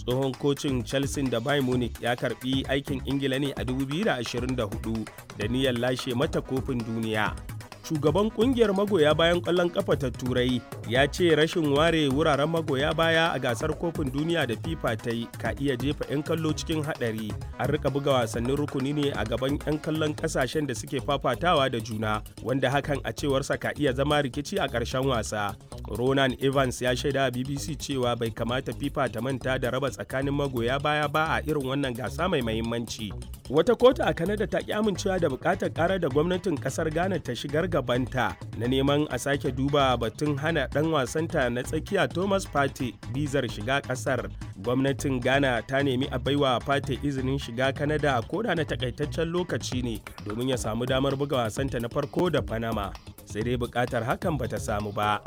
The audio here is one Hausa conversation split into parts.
Tsohon kocin Chelsea da Bayern Munich ya karbi aikin Ingila ne a 2024 da niyyar lashe mata kofin duniya. Shugaban kungiyar magoya bayan ƙwallon ƙafa ta Turai ya ce rashin ware wuraren magoya baya a gasar kofin duniya da FIFA ta yi ka iya jefa 'yan kallo cikin haɗari. An rika buga wasannin rukuni ne a gaban 'yan kallon ƙasashen da suke fafatawa da juna, wanda hakan a cewarsa ka iya zama rikici a ƙarshen wasa. Ronan Evans ya shaida BBC cewa bai kamata FIFA ta manta da raba tsakanin magoya baya ba a irin wannan gasa mai mahimmanci. Wata kotu a Kanada ta ki amincewa da buƙatar ƙarar da gwamnatin ƙasar Ghana ta shigar gabanta na neman a sake duba batun hana ɗan wasanta na tsakiya Thomas Partey bizar shiga ƙasar. Gwamnatin Ghana ta nemi a baiwa Partey izinin shiga Kanada ko da na takaitaccen lokaci ne domin ya samu damar buga wasanta na farko da Panama. Sai dai buƙatar hakan bata samu ba.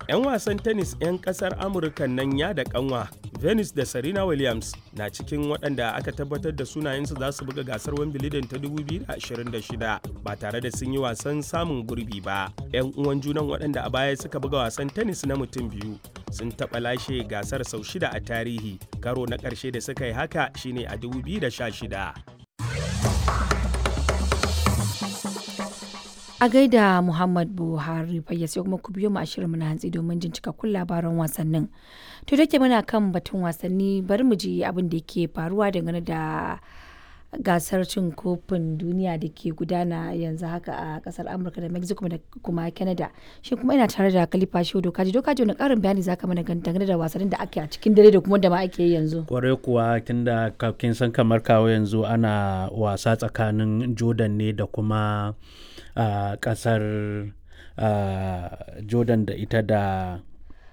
'Yan wasan tennis 'yan kasar Amurka nan ya da kanwa Venus da Serena Williams na cikin waɗanda aka tabbatar da sunayensu za su buga gasar Wimbledon ta 2026 ba tare da sun yi wasan samun gurbi ba. 'Yan uwan junan waɗanda a baya suka buga wasan tennis na mutum biyu sun taɓa lashe gasar sau shida a tarihi. Karo na ƙarshe da suka yi haka shine a 2016. A gaida Muhammad Buhari fayyace, kuma ku biyo mu a shirinmu na hantsi domin jin cikakkun labaran wasannin. To da muna kan batun wasanni, bari mu ji abin da yake faruwa dangane da gasar cin kofin duniya da ke gudana yanzu haka a kasar Amurka da Mexico da kuma Canada. Shi kuma ina tare da Khalifa Shehu Dokaji. Dokaji, wani karin bayani zaka mana dangane da wasannin da ake a cikin dare da kuma da ma ake yi yanzu? Kwarai kuwa, tunda kin san kamar kawo yanzu ana wasa tsakanin Jordan ne da kuma kasar Jordan da ita da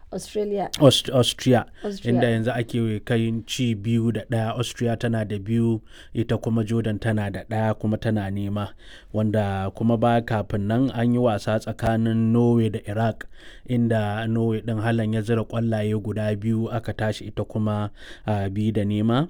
Australia. Austria. Austria. Inda yanzu ake kai ci 2-1. Austria tana da biyu, ita kuma Jordan tana da ɗaya kuma tana nema. Wanda kuma ba kafin nan an yi wasa tsakanin Norway da Iraq, inda Norway ɗin Halan ya zira ƙwallaye guda biyu, aka tashi ita kuma 2-0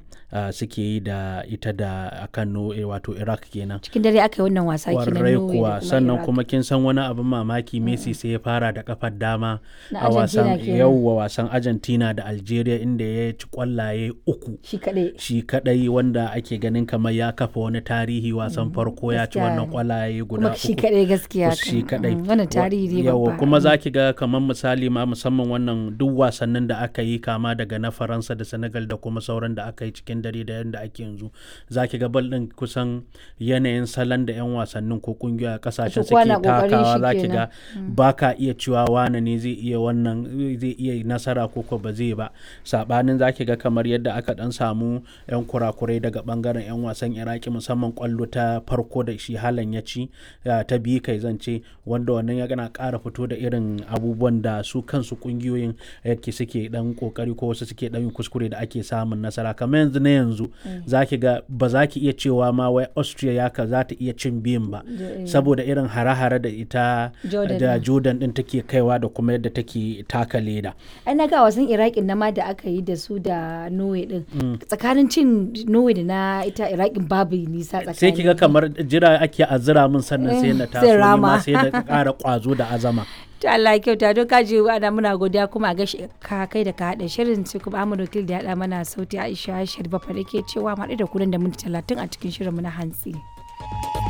suke yi da ita da akan Norway, wato Iraq kenan. Cikin dare aka yi wannan wasa kenan, Kwarai Norway da kuwa. kuma Sannan Iraq. kuma kin san wani abin mamaki, Messi sai ya fara da kafar dama Na a wasan Argentina kenan. yauwa, wasan Argentina da Algeria, inda ya ci kwallaye uku shi kaɗai. shi kadai, wanda ake ganin kamar ya kafa wani tarihi, wasan farko ya ci gaskiya. wannan kwallaye guda Kuma shi uku. kaɗai, gaskiya. Shi kadai. Wannan tarihi ne Yawa babba. kuma za ki ga kamar misali ma musamman wannan duk wasannin da aka yi, kama daga na Faransa da Senegal da kuma sauran da aka yi cikin dare da yadda ake yanzu, za ki ga bal din kusan yanayin salon da 'yan wasannin ko kungiyoyi a kasashen kowa suke na kokarin takawa, shi za ki kenan. ga ba ka iya cewa wane ne zai iya wannan, zai iya nasara ko ko ba zai ba. Sabanin za ki ga kamar yadda aka dan samu 'yan kurakurai daga bangaren 'yan wasan Iraki, musamman kwallo ta farko da shi Halan ya ci, ta biyu kai zan ce, wanda wannan ya gana ƙara fito da irin abubuwan da su kansu kungiyoyin yake suke dan kokari ko wasu suke dan yin kuskure da ake samun nasara. Kamar yanzu na yanzu za ki ga ba za ki iya cewa ma wai Austria ya ka za ta iya cin biyun ba, saboda irin hare-hare da ita Jordan da din. Jordan din take kaiwa da kuma yadda take taka leda. Ai na ga wasan Iraqin na ma da aka yi da su da Norway din, tsakanin cin Norway da na ita Iraqin babu nisa tsakani. Sai kiga kamar jira ake azura min, sannan sai na Sai taso ni ma rama. sai na ƙara ƙwazo da azama. To Allah ya kyauta. Don kaji ana muna godiya kuma a gashi ka kai da ka haɗa shirin, sai kuma Ahmad Wakil da ya haɗa mana sauti. Aisha Sharifa da ke cewa mu haɗu da ku nan da minti 30 a cikin shirin mu na hantsi.